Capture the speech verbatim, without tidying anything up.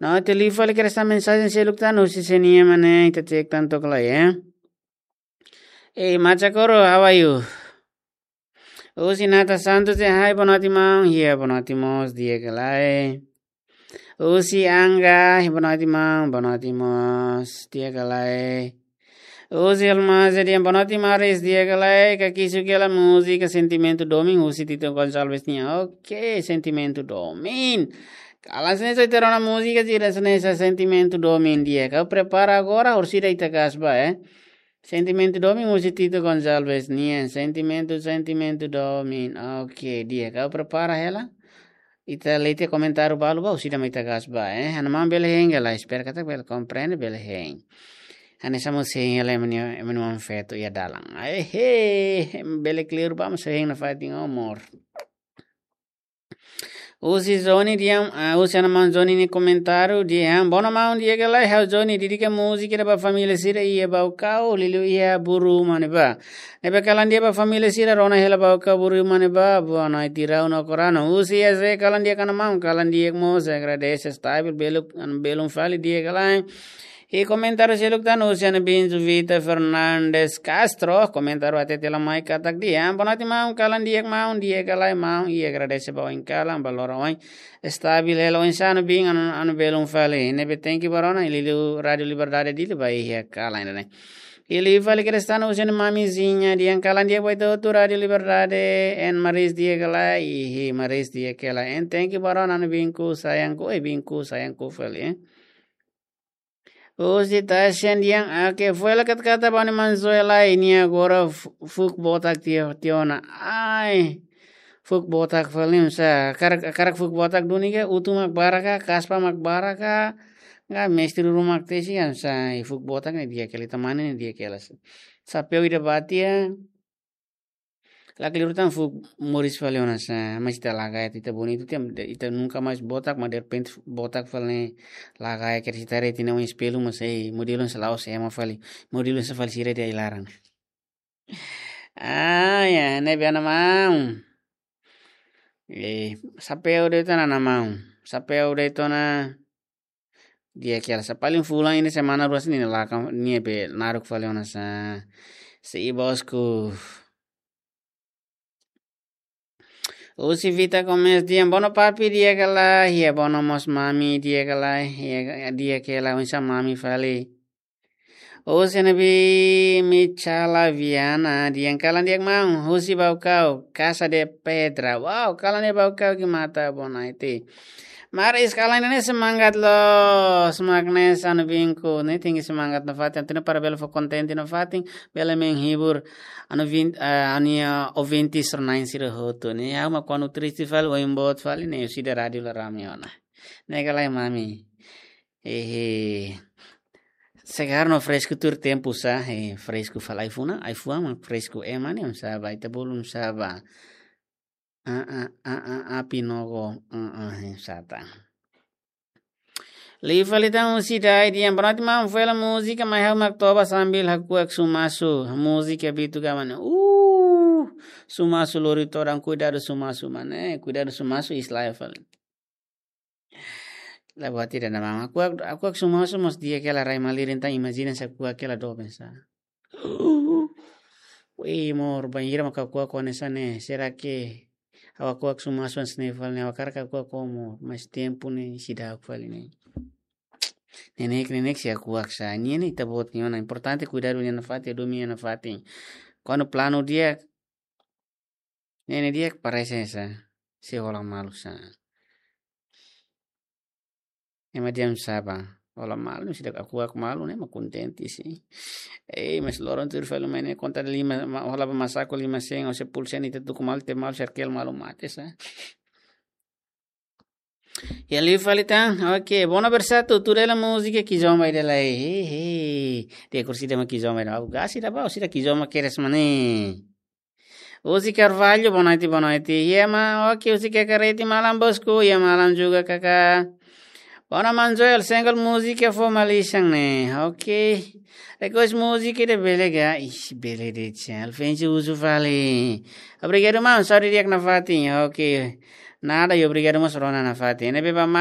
No, ita liu fali kedas tan mensajen seluk tan, husi sé nian mak ne'e, ita cek tan took lai, eh. Eh, Macha Koro, how are you? Husi Nata Santos, eh, hi, boa noite, maun. Iha, boa noite mós, di'ak ka lae. Husi Angga, boa noite, maun. Boa noite mós, di'ak ka lae. Husi Almaz, di'ak, boa noite, Maris, di'ak ka lae. Kakisu kela múzika Sentimentu Domin, husi Tito Gonçalves nian. Ok, Sentimentu Domin. Kalan sene só ita rona múzika, sira sene sa Sentimentu Domin di'ak. Ha'u prepara agora, orsida ita gas ba, eh. Sentimentu Domin, husi Tito Gonçalves nian. Sentimentu, Sentimentu Domin. Ok, di'ak. Ha'u prepara hela. Ita lee tiha komentáriu balu ba, orsida mak ita gas ba, eh. Hanesan maun bele hein hela, espera katak bele komprende, bele hein. Hanesan mós hein hela ema nia, ema nia oan feto iha dalan. Ai, he, bele clear ba, mas hein nafatin, amor. Husi Johnny di'ak, ah, husi hanesan maun Johnny nia komentáriu di'ak, bono maun di'ak ka lae, ha'u Johnny, dedika múzika ida ba família sira iha Baucau, liuliu iha Buru Manibá. Ne'ebé kalan di'ak ba família sira, rona hela Baucau Buru Manibá, boa noite, Rau no Korano. Husi S V kalan di'ak ka lae maun, kalan di'ak mós, agradese, stabil, belun, belun fali di'ak ka lae. I komentáriu seluk tan husi Ana Binzu Vita Fernandes Castro, komentáriu hatete lai mai katak di'ak, boa noite maun, kalan di'ak maun, di'ak ka lae maun, i agradese ba oin kalan, ba loron oin. Stabil hela oinsá Ana Bin, anu, anu belun fali. Ne'ebé thank you ba rona, i liuliu Rádiu Liberdade Dili ba iha kalan ne'e. I liu fali kedas tan husi Ana Mamizinha, di'ak, kalan di'ak ba ita hotu Rádiu Liberdade, en Maris di'ak ka lae, ihi Maris di'ak ka lae, en thank you ba rona, Ana Binku, sayangku, eh, Binku, sayangku fali, eh. Husi Tashen di'ak, oke, foin hela katak ba Ana Manzoela, nia agora fu-, fuuk botak tiha, tiha ona. Ai, fuuk botak fali oinsá, hakarak, hakarak fuuk botak duni ka, utu mak barak ka, kaspa mak barak ka, ka mesti ruma mak tesi kan, oinsá, i fuuk botak ne'e di'ak hela, ita-nia mane ne'e di'ak hela. Xapeu ida ba tiha, lakleur tan fuuk moris fali ona sa, mas ita lagaya, ita bonitu tiha, ita nunka mais botak, mas derrepente botak fali ne'e lagaya, kedas ita haree tiha ona espellu mas, eh, modelu oinsá la'ós ema fali, modelu oinsá fali sira iha ai-laran. Ah, ya, ne'ebé Ana maun. Eh, xapeu de'it ona Ana maun. Xapeu de'it ona. Di'ak ka lae, sa paling fulan ini semana rua sini laka, ne'ebé naruk fali ona sa. Sei bosku. Husi Vita Gomes di'ak, bono papi di'ak ka lae, iha bono mós mami di'ak ka lae, iha di'ak ka lae, oinsá mami fali. Husi Ana Bin Michala Viana di'ak, kalan di'ak maun, husi Baucau, Casa de Pedra. Wow, kalan di'ak Baucau, que mata, boa noite. Maris, kalan ne'e semangat loos, mak ne'e Ana Binku, ne'e tenke semangat nafatin, atu nune'e para bele fó kontente nafatin, bele menghibur Ana Bin, eh, Ana, eh, ouvintes sira-na'in sira hotu, ne'e. Ha'u mak kuandu triste fali, oin boot fali, ne'e, orsida rádiu la rame ona. Ne'e ka lae mami. Ehe. Segar no fresku tuir tempu sa, eh, fresku fali ai-fuan, ai-fuan mak fresku ema ne'e, oinsá ba, ita bolu oinsá ba. Ah, ah, ah, ah, ah, pinogo, ah, ah, eh, sata. Liu fali tan husi Dai di'ak, boa noite maun, foin hela múzika, mai ha'u mak toba sambil hakuak sumasu, múzika Bitu Gaman. Uh, sumasu lori todan, kuidadu sumasu mane, eh, kuidadu sumasu islaya fali. La buat ida na maun. Hakuak, hakuak sumasu mós di'ak ka lae, rai malirin tan, imajina se hakuak ka lae doben sa. Wei, amor, bainhira mak hakuak hanesan ne'e. Será que ha'u hakuak sumasu hanesan ne'e fali ne'e, ha'u hakarak hakuak amor. Mas tempu ne'e seidauk fali ne'e. Neineik, neineik sei hakuak sa. Nia ne'e ita-boot nia ona. Importante kuidadu nia nafatin, domin nia nafatin. Kuandu planu di'ak, ne'e, ne'e di'ak parese sa, sei hola malu sa. Ema di'ak sá ba, hola malu, seidauk hakuak malu, ne'e mak kontente sei. Eh, mas loron tuir fali mai ne'e konta lima, ma-, hola ba masaku lima sen, ou se pulsa ne'e ita tuku malu, te malu, serkel malu mate sa. Ya liu fali tan, oke, bono bersatu, tuda hela múzika Kizomba ida lai, he, he. Dia kursi dama Kizomba ida, au gasi da bau, sida Kizomba kedas mane. Uzi Carvalho, boa noite, boa noite. Ya ma, oke, Uzi Kakareti, malam bosku, ya malam juga kakak. Bono maun Joel, single múzika fó malisan ne'e, oke. Request múzika ida bele ka, ih, bele de'it, Alfensi uzu fali. Obrigadu maun, saúde di'ak nafatin, oke. Nada, i obrigadu mós rona nafatin. Ne'ebé ba